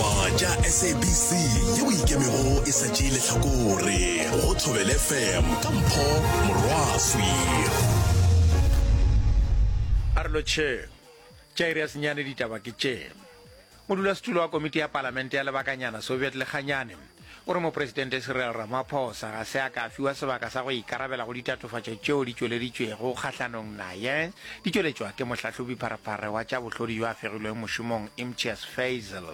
Ditaba tša SABC yeo e ikemego e sa tšee lehlakore go Thobela FM ka Mpho Morwaswi. A re lotšheng. Tša iri ya senyane ditaba ke tše. Modulasetulo wa komiti ya palamente ya lebakanyana Soviet Lekganyane o re Mopresidente Cyril Ramaphosa ga se a ka a fiwa sebaka sa go ikarabela go ditatofatšo tšeo di tšweleditšwego kgahlanong naye di tšweletšwa ke mohlahlobi-pharephare wa tša bohlodi yo a fegilweng mošomong Imtiaz Fazel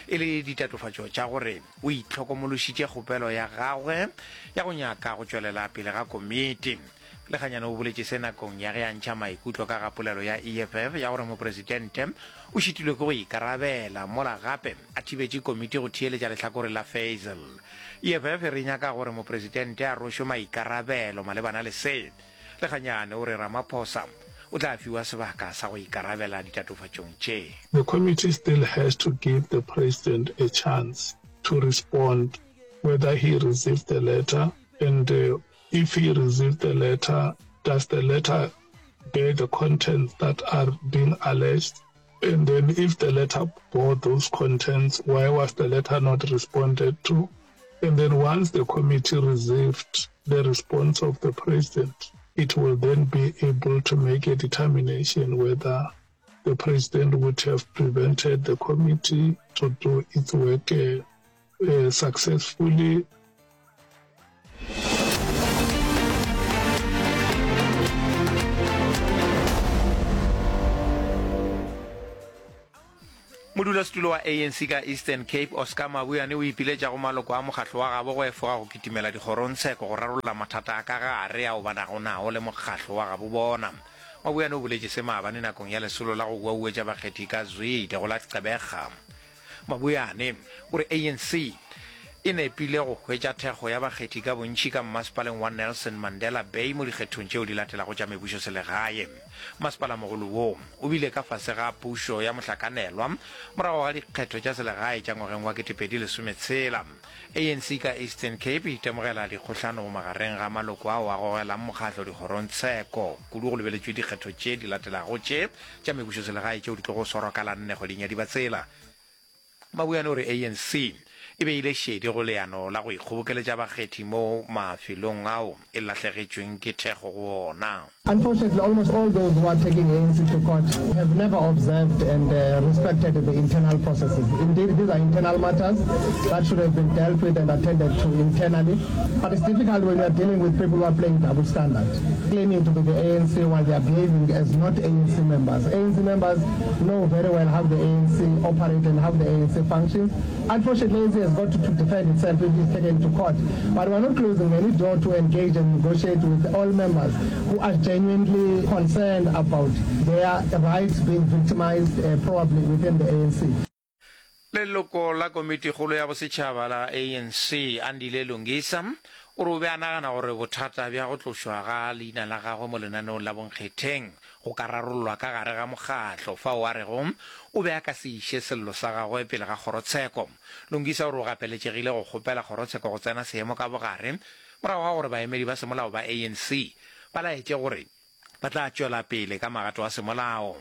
e le ditatofatšo tša gore o itlhokomološitše kgopelo ya gagwe ya go nyaka go tšwelela pele ga komiti. Lekganyane o boletše se nakong ya ge a ntšha maikutlo ka ga polelo ya EFF ya gore mopresidente o šitilwe ke go ikarabela mola gape a thibetše komiti go theeletša lehlakore la Fazel. EFF e re nyaka gore mopresidente a rwešwe maikarabelo malebana le se. Lekganyane o re Ramaphosa o tla fiwa sebaka sa go ikarabela ditatofatšong tše. The committee still has to give the president a chance to respond whether he received the letter and If he received the letter, does the letter bear the contents that are being alleged? And then if the letter bore those contents, why was the letter not responded to? And then once the committee received the response of the president, it will then be able to make a determination whether the president would have prevented the committee to do its work uh, uh, successfully. Modulasetulo wa ANC ka Eastern Cape, Oscar Mabuyane o ipiletša go maloko a mokgatlo wa gabo go efoga go kitimela dikgorongtsheko go rarolla mathata a ka gare ao ba nago nao le mokgatlo wa gabo bona. Mabuyane o boletše se maabane nakong ya lesolo la go uauetša bakgethi ka Zwide go la Gqeberha. Mabuyane o re ANC e nepile go hwetša thekgo ya bakgethi ka bontši ka mmasepaleng wa Nelson Mandela Bay mo dikgethong tšeo di latelago tša mebušoselegae. Masepalamogolo wo o bile ka fase ga pušo ya mohlakanelwa morago ga dikgetho tša selegae tša ngwageng wa 2016. ANC ka Eastern Cape e itemogela dikgohlano magareng ga maloko ao a gogelang mokgatlo dikgorongtsheko, kudu go lebeletšwe dikgetho tše di latelago tše tša mebušoselegae tšeo di tlogo swarwa ka la nne kgweding ya Dibatsela. Mabuyane o re ANC e beile šedi go leano la go ikgobokeletša bakgethi mo mafelong ao e lahlegetšweng ke thekgo go ona. Unfortunately, almost all those who are taking ANC to court have never observed and respected the internal processes. Indeed, these are internal matters that should have been dealt with and attended to internally. But it's difficult when you are dealing with people who are playing double standard, claiming to be the ANC while they are behaving as not ANC members. ANC members know very well how the ANC operates and how the ANC functions. Unfortunately, ANC has got to, to defend itself if it's taken to court. But we are not closing any door to engage and negotiate with all members who are genuinely concerned about their rights being victimized uh, probably within the ANC. Leloko la Komitikgolo ya Bosetšhaba la ANC, Andile Lungisa, o re o be a nagana gore bothata bja go tlošwa ga leina la gagwe mo lenaneong la bonkgetheng go ka rarollwa ka gare ga mokgatlo, fao a rego o be a ka se iše sello sa gagwe pele ga kgorotsheko. Lungisa o re o gapeletšegile go kgopela kgorotsheko go tsena seemo ka bogare morago ga gore baemedi ba semolao ba ANC ba laetše gore Ba tla tšwela pele ka magato a semolao.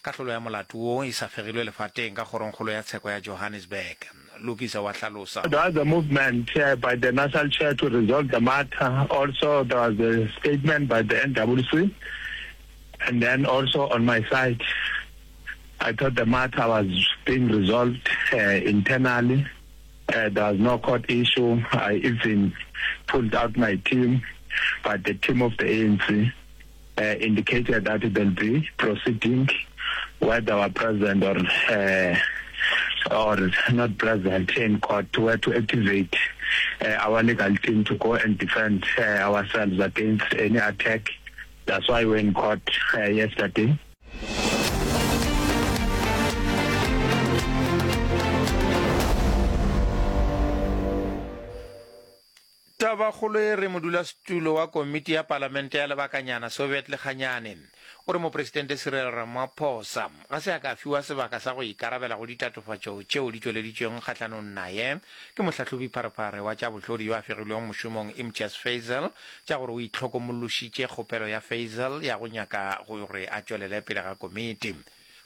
Kahlolo ya molato wo e sa fegilwe lefateng ka Kgorongkgolo ya Tsheko ya Johannesburg. Lokisa wa hlalosa. There was a movement by the national chair to resolve the matter. Also there was a statement by the NWC and then also on my side I thought the matter was being resolved internally. There was no court issue. I even pulled out my team, but the team of the ANC uh, indicated that they'll be proceeding whether were present or uh, or not present in court were to activate uh, our legal team to go and defend uh, ourselves against any attack. That's why we're in court uh, yesterday. Tabakgolo e re modulasetulo wa komiti ya palamente ya lebakanyana Soviet Lekganyane o re mopresidente Cyril Ramaphosa ga se a ka fiwa sebaka sa go ikarabela go ditatofatšo tšeo di tšweleditšweng kgahlanong naye ke mohlahlobi-pharephare wa tša bohlodi yo a fegilwego mošomong Imtiaz Fazel tša gore o itlhokomološitše kgopelo ya Fazel ya go nyaka gore a tšwelele pele ga komiti.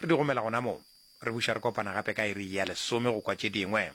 Re di gomela gona mo. Re buša re kopana gape ka iri ya lesome go kwa tše dingwe.